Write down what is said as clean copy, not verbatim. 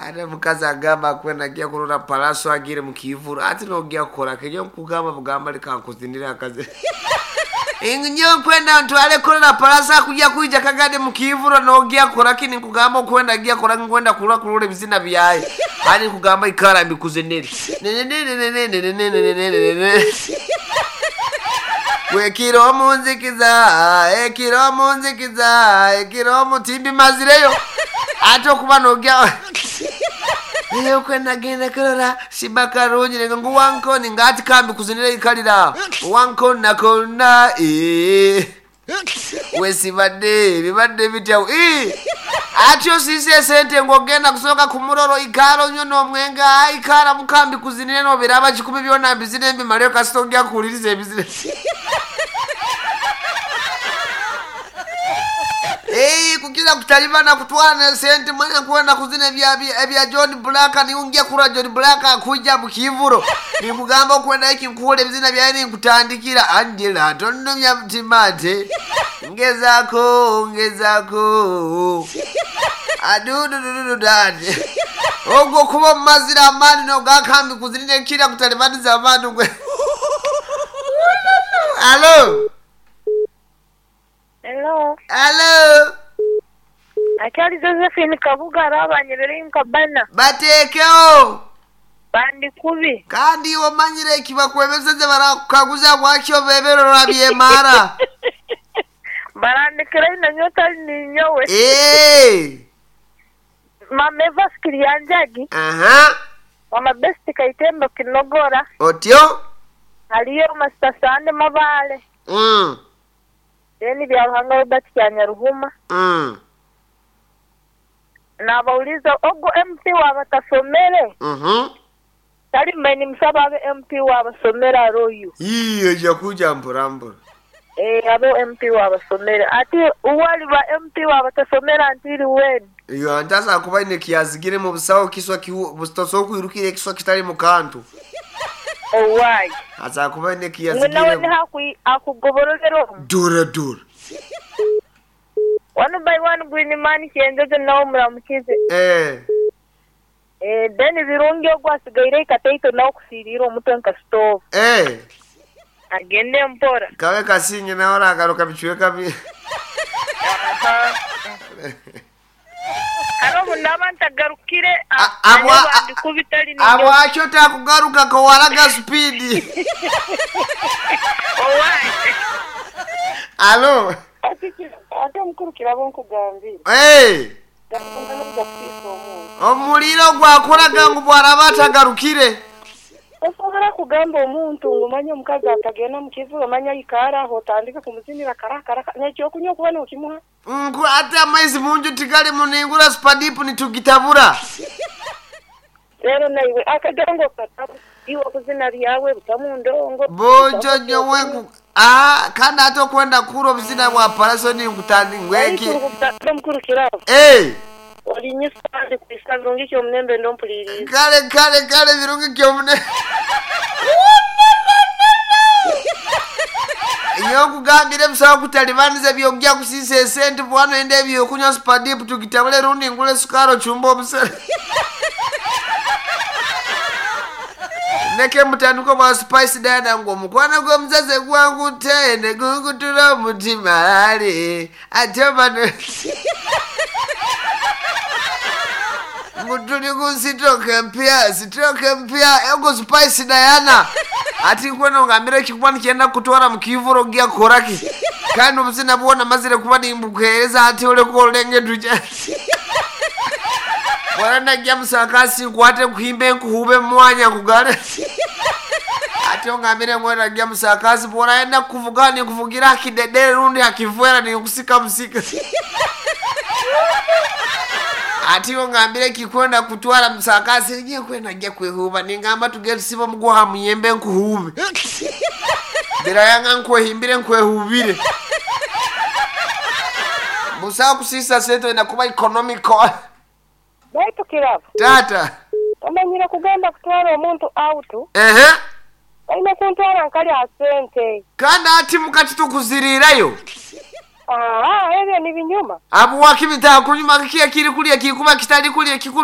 Ate omukazi agamba kwenda agya kurora Pallaso agiire mu kiivuro ati nogya kukora ki? Nyowe nkugamba bugamba leka nkuzinire akazi. Nyowe nkwenda ntware kurora Pallaso akugya kwija kagade mu kiivuro nogya kukora ki? Ninkugamba okwenda agya kukora ki? Nkwenda kurora kurora ebizina byaye. Hati ninkugamba ikara mbikuzinire. Ekiro omu nzikiza, ekiro omu nzikiza, ekiro omu timbimazireyo. Ate okuba nogya okwe nagenda kurora Shiba Karungi nenga ngu wankoni nga ati kambi kuzinira ikalira wankona kona ee wesibadde bibadde bitya ee ati osiise esente ngu ogenda kusooka kumurora oikara onywe n'omwenge aikara mukambi kuzinire nobiraba kikumi byona mbizine mbimaleyo kasita ogya kuhuliriza ebizine Ei, kukira kutalibana kutwara nesente mwena kwenda kuzina ebya John Black niungia kura John Black akuja mukivuro nikugamba okwenda iki nkuhura ebizina byaye ninkutandikira Angela tonumya mutima ate ngezako ngezako adudududu ate ogwo kuba omumazira amaani nogakambi kuzinira kira kutalibaniza abantu gwe Alo Hello. Alo Akyali Josephine Kabuga arabanyerere nkabana. Bateekeho Bandi kubi. Kandi iwe omanyire eki bakwebeseze barakukaguza bwaki obebere orabyemara. Barandikira ina nyota ninyowe. Eh. Mama Eva Sikirianjagi. Aha. Mama Best Kaitembo Kinogora. Otyo? Haliyo Master Sande Mabale. Then Byaruhanga Robert Kyanyaruhuma. Nabauliza ogo MP wabatasomere. Tali meni msaba abe MP wabasomere aroyu. Iyo jakuja mpora mpora. Abo MP wabasomere. Ati uwali ba MP wabatasomera antiri weni. Iyo antasa kuba ine kiazigire mu busawo kiswa kihu bustoso kwirukire kiswa kitali mu kantu. Owai. Asa kuba ine Mwe nawe kiazigire. ni hakui akugoborolero. Dura dura. One by one green man kienjojo nawo muramukize. Then birungi ogwasigaire ikateito nawo kusirira omutwe nka stove. Agende mpora. Kawe kasinge nawe aragaruka bichweka bi. Aha. Haro munaba ntagarukire kubitali ni Abo acho takugaruka ko waraga speed. Owai. Alo. Ate omukuru kirabo nkugambire. Omuliro gwakoraga ngu bwaraba atagarukire. Osobola kugamba omuntu ngu manya omukazi atagenda mu kivu omanya ikara aho otandike kumuzinira karakara nekyokunywa okuba nokimuha. Ngu ate amaizi munju tigali muningura spadipu nitugitabura. Rero naiwe akadongo katabu iwe kuzina byawe butamu ndongo. Bojo nyowe ngu kandi ate okwenda kura obuzina bwa Pallaso ninkutandi ngweki. Omukuru kirabo. Olinyisa kandi kwisa birungi kyomunembe ndompuliriza. Kale kale kale birungi kyomune. Nyowe nkugambire busawo kutalibaniza byogya kusisa esente bwana ende ebyokunywa spadipu tugitabule rundi ngule sukari ochumba obusere. Neke mutandiko bwa Spice Diana ngu omukwano gw'omuzaze gwangu ne gungutura omutima ali ate bano ngu tuli ku sitoke mpya sitoke mpya ego Spice Diana ati nkwena ngambire kikuba nikyenda kutwara mu kivuro gya koraki kandi obuzina bwona mazire kuba nimbukuhereza ati oleko olenge tuja Bwana najja musakasi nkwate nkuhimbe nkuhube mwanya nkugale. Ate ongambire ngwena najja musakasi bwana yenda kuvuga nikuvugira akidedere rundi akivwera nikusika musika. Ati ongambire kikwenda kutwara musakasi ngiye kwenda najja kwehuba ningamba tugende sibo muguha muyembe nkuhube. Bira yanga nkwehimbire nkwehubire. Musa kusisa sento inakuba economical. Baitu kirabo. Tata. Omanyire kugenda kutwara omuntu out. Olina kuntwara nkali asente. Kandi ati mukati tukuzirirayo. Ebyo ni binyuma. Abu wakibita kunyuma kikia kiri kulia kikuba kitali kulia kikuru.